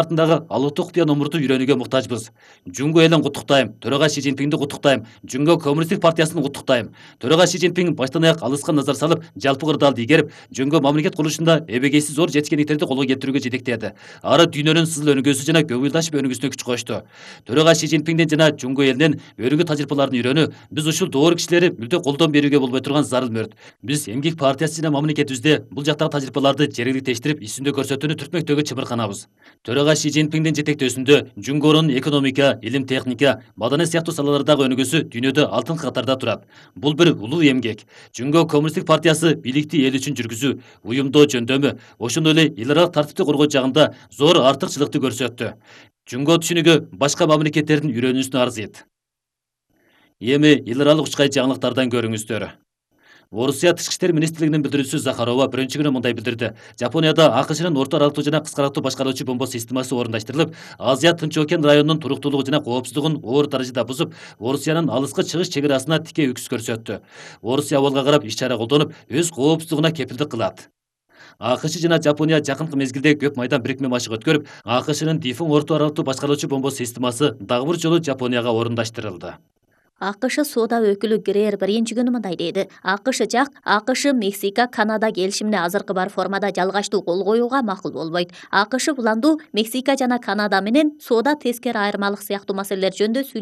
артындагы алыптуу кутуя номурду үйрөнүүгө муктажбыз. Жунго элин куттуктайм. Төрага Си Цзиньпинди куттуктайм. Жунго Коммунисттик партиясын куттуктайм. Төрага Си Цзиньпин баштан аяк алыска назар салып, жалпы кырдаалды ийгерип, жөнгө мамлекет курулушунда эбегейсиз зор жетишкендиктерди колго келтирүүгө жетектеди. Ары дүйнөнүн сызыл өнүгүүсү жана көңүлдашып өнүгүүсүнө күч кошту. Төрага Си Цзиньпинден жана жунго элинин өрүнгү тажрыйбаларын үйрөнүү биз ушул доор кишилери мүлдө колдон берүүгө болбой турган зарыл мөрт. Биз эмгек партиясы жана мамлекетибизде бул жактагы тажрыйбаларды жергиликтештирип, исүндө көрсөтүүнү түртмөктөгү чыбырканабыз. Төрага Си Цзиньпиндин жетектөөсүндө жунгонун экономика, илим техника, маданият сыяктуу салалардагы өнүгүүсү дүйнөдө алтынкы катарда турат. Бул бир улуу эмгек. Жунго Коммунисттик партиясы бийликти эл үчүн жүргүзүү, уюмдоо жөндөмү, ошондой эле эл аралык тартипти коргоо жагында зор артыкчылыкты көрсөттү. Жунго түшүнүгү башка мамлекеттердин үйрөнүүсүнө арзыйт. Эми эл аралык учкай жаңылыктардан көрүңүздөр. Орусия Тышкы иштер министрлигинин билдирүүчүсү Захарова биринчи күнү мындай билдирди. Жапонияда АКШнын орто аралыктуу жана кыска аралыктуу башкаруучу бомба системасы орундаштырылып, Азия Тынч окен районунун туруктуулугу жана коопсуздугун оор даражада бузуп, Орусиянын алыскы чыгыш чек арасына тикей үкүс көрсөттү. Орусия абалга карап иш чара колдонуп, өз коопсуздугуна кепилдик кылат. АКШ жана Жапония жакынкы мезгилде көп майдан бирикме машык өткөрүп, АКШнын Дифың орто аралыктуу башкаруучу бомба системасы дагы бир жолу Жапонияга орундаштырылды. АКШ соода өкүлү Грейер биринчи күнү мындай деди. АКШ, Мексика, Канада келишимине азыркы бар формада жалгачтуу кол коюуга макул болбойт. АКШ буланду Мексика жана Канада менен соода тескери айырмалык сыяктуу маселелер жөнүндө